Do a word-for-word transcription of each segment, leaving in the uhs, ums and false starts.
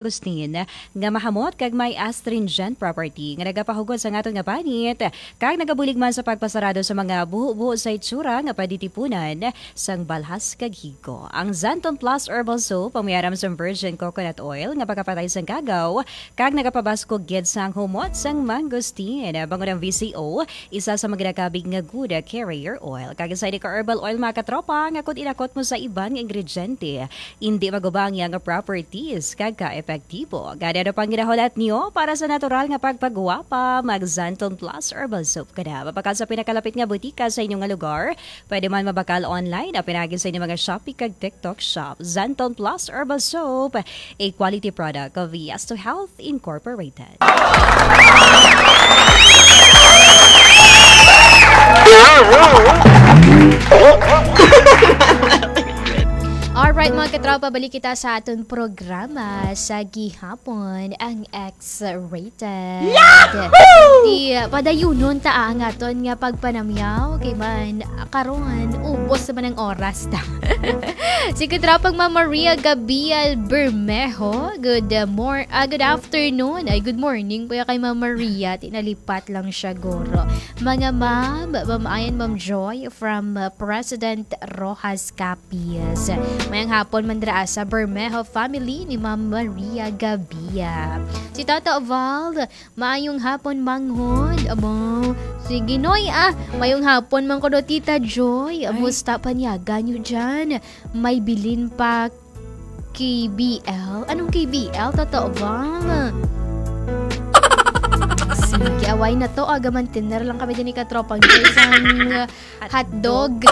Agustin nga mahamot kag may astringent property nga nagapahugot sa aton nga panit kag nagabulig man sa pagpasarado sa mga buho-buho sa itsura nga pwede tipunan sang balhas kag higo. Ang Xanthone Plus Herbal Soap ang may aram sang virgin coconut oil nga pagapatay sang kagaw kag nagapabaskog gid sang humot sang mangosteen. Bangod ang V C O, isa sa mga ginakabig nga good carrier oil. Kag sa ini ka herbal oil, mga katropa, nga kung inakot mo sa iban nga ingrediente, indi magubang iya nga properties kag ka-epektibo. Gani, ano pang ginahulat niyo para sa natural nga pagpagwapa? Mag Xanthone Plus Herbal Soap ka na. Mabakal sa pinakalapit nga butika sa inyo nga lugar. Pwede man mabakal online, apinagi sa inyo mga Shopee kag TikTok shop. Xanthone Plus Herbal Soap, a quality product of Yes to Health Incorporated. Alright, mga katropa, balik kita sa aton programa sa gihapon, ang X-rated. Yahoo! Di, ah, padayunon ta ang aton nga pagpanamyaw kay man karon ubos naman ang oras ta. Si katropang Ma'am Maria Gabriel Bermejo, good, uh, mor-, ah, good afternoon. Ay, good morning po kay Ma'am Maria. Tinalipat lang siya, guro. Mga ma'am, Ma'am Ayan, Ma'am Joy, from, uh, President Rojas Capiz. Mayang hapon man dira sa Bermejo family ni Ma'am Maria Gabia. Si Tata Val, maayong hapon, manghod. Amo, sige, Noy, ah, mayong hapon man ko do, Tita Joy. Ay. Musta paniaga nyo dyan? May bilin pa K B L? Anong K B L? Totoo ba? Sige, away na to. Aga man, tiner lang kami din ni katropang Joy sang hotdog.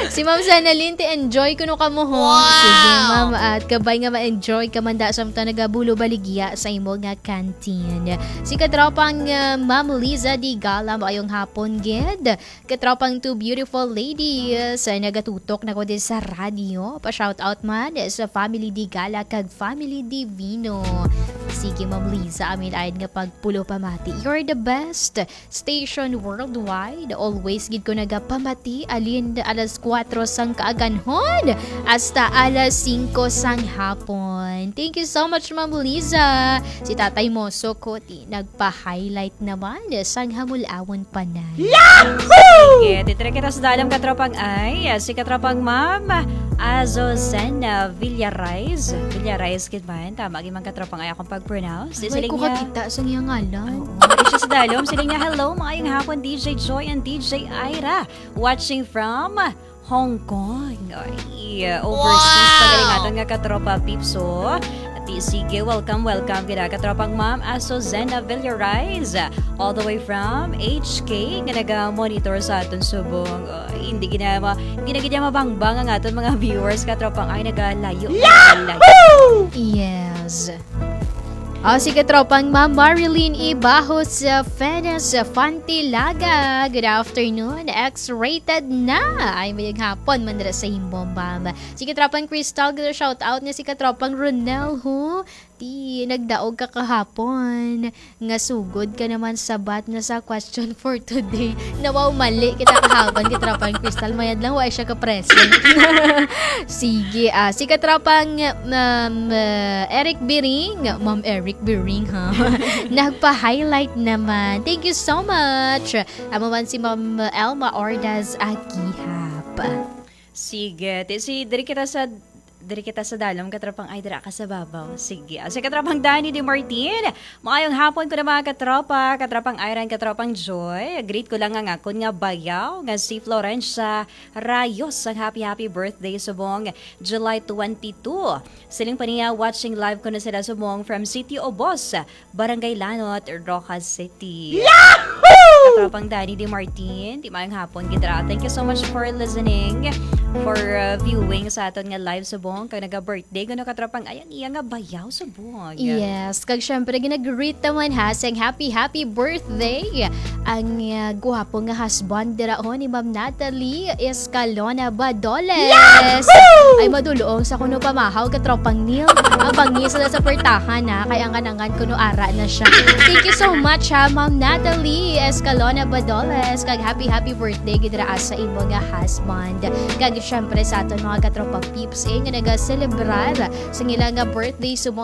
Si Ma'am Sanalin, ti enjoy kuno kamo, ho. Wow! Sige, ma'am, at kabay nga ma-enjoy ka man da sa mga nagabulo baligya sa imo nga canteen. Si katropang, uh, Ma'am Liza Digala, maayong hapon gid. Katropang two beautiful ladies, uh, nagatutok na ko din sa radyo. Pa-shoutout man sa Family Digala kag Family Divino. Sige, Ma'am Liza, amin ayon nga pagpulo pamati. You're the best station worldwide. Always gid ko nagapamati, alin alas kuwatro sang kaaganhon hasta alas singko sang hapon. Thank you so much, Ma'am Liza. Si Tatay Moso ko, ti, nagpa-highlight naman sang hamulawon panay. Yahoo! Sige, titira kita sa dalom, katropang ay, si katropang Ma'am Azucena Villarais. Villarais, gid man. Tama, gid man, katropang ay akong pag-pronounce. Di, ay, siling ko niya, kakita sa iyang ngalan. Oo, di siya sa dalom. Siling niya, "Hello, maayong hapon, D J Joy and D J Ira. Watching from Hong Kong." Ay, overseas pa galing aton nga katropa, peeps, oh. Ati, sige, welcome, welcome, gid, katropang Ma'am Azucena Villarais, all the way from H K, nga naga-monitor sa aton subong. Ay, hindi gina-, ma-, hindi na gid niya mabangbang ang aton mga viewers, katropang ay nagalayo. Yahoo! Yes. O, si katropang Ma'am Marilyn Ibahos, uh, Fenes Fantilaga. Good afternoon. X-rated na. Ay, mayang hapon man dira sa imo, ma'am. Si katropang Crystal, gid shout out niya si katropang Ronel, ho. Ti, nagdaog ka kahapon. Nga sugod ka naman sabat na sa question for today. Nawaw, mali kita kahapon, katropang Crystal. Mayad lang, wa siya ka-present. Sige, ah, si katropang, Ma'am, ah, Eric Biring, Ma'am Eric Biring, ha? Nagpa-highlight naman. Thank you so much. Amo man si Ma'am Elma Ordaz Agihap. Sige, ti-, si, diri kita sa, diri kita sa dalom, katropang ay dira ka sa babaw. Sige, ah, si katropang Danny De Martin, maayong hapon ko na, mga katropa, katropang Iran, katropang Joy. Greet ko lang ang akon nga bayaw, nga si Florencia Rayos, ang happy, happy birthday subong July twenty-two. Siling pa niya, watching live ko na sila subong from Sitio Obos, Barangay Lanot, Roxas City. Yahoo! Katropang Danny De Martin, ti, mayong hapon, gid ra. Thank you so much for listening, for, uh, viewing sa aton nga live subong. Kag naga-birthday ko na, katropang ay ang iya nga bayaw subong. Yes, kag syempre, ginag-greet naman, ha, sang happy, happy birthday ang, ah, guwapo nga husband dira, oh, ni Ma'am Natalie Escalona Badoles. Yahoo! Ay, madulong sa kuno pamahaw, katropang Neil. Abangi sila sa pertahan, ha, kay angan-angan kuno ara na siya. Thank you so much, ha, Ma'am Natalie Escalona Badoles, kag happy, happy birthday gid ra sa imo nga husband. Kag Siyempre sa aton mga katropang peeps, eh, nga nagaselebrar sa ilang nga birthday subong